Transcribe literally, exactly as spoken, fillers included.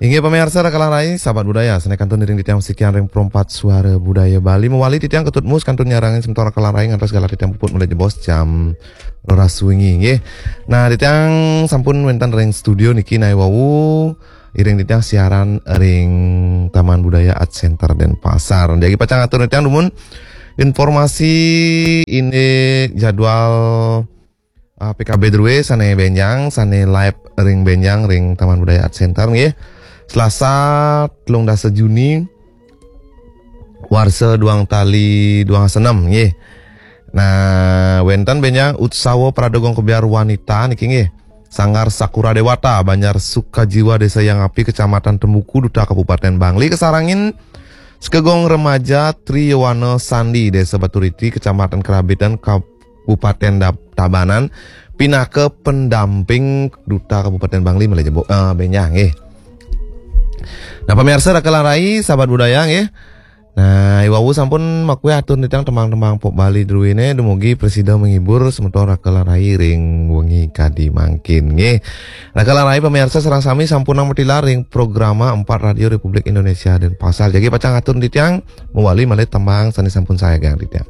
Inggih pamiarsa raka lan rai, sahabat budaya, sané kantun iring titiang sikian ring Perempat Suara Budaya Bali. Mawali titiang Ketut Mus kantun nyarengin semeton raka lan rai ngantos galah titiang puput malih jebos jam roras wengi, nggih. Nah, titiang sampun wénten ring studio niki nah wau iring titiang siaran ring Taman Budaya Art Center Denpasar. Jagi pacang atur titiang dumun informasi indik jadwal ah, P K B drué sané bénjang, sané live ring bénjang ring Taman Budaya Art Center nggih. Selasa telung dasa Juni warsa duang tali duang dasa enem nggih. Nah, wénten bénjang Utsawa Pradagang Kebyar Wanita niki nggih. Sanggar Sakura Dewata, Banjar Sukajiwa, Desa Hyang Api, Kecamatan Tembuku, Duta Kabupaten Bangli, kasarengin Sekegong Remaja Triyowana Sandi, Desa Baturiti, Kecamatan Kerabitan, Kabupaten Dab- Tabanan, pinaka pendamping Duta Kabupaten Bangli malih jebos, eh, bénjang nggih. Nah, pamiarsa raka lan rai, sahabat budaya nggih. Nah, i wau sampun makuih atur titiang tembang-tembang pop Bali druéné, dumugi prasida menghibur semeton raka lan rai ring wengi kadi mangkin nggih. Raka lan rai pamiarsa sareng sami sampunang matilar ring programa empat Radio Republik Indonesia Denpasar. Jagi pacang atur titiang mawali malih tembang sané sampun sayagang titiang.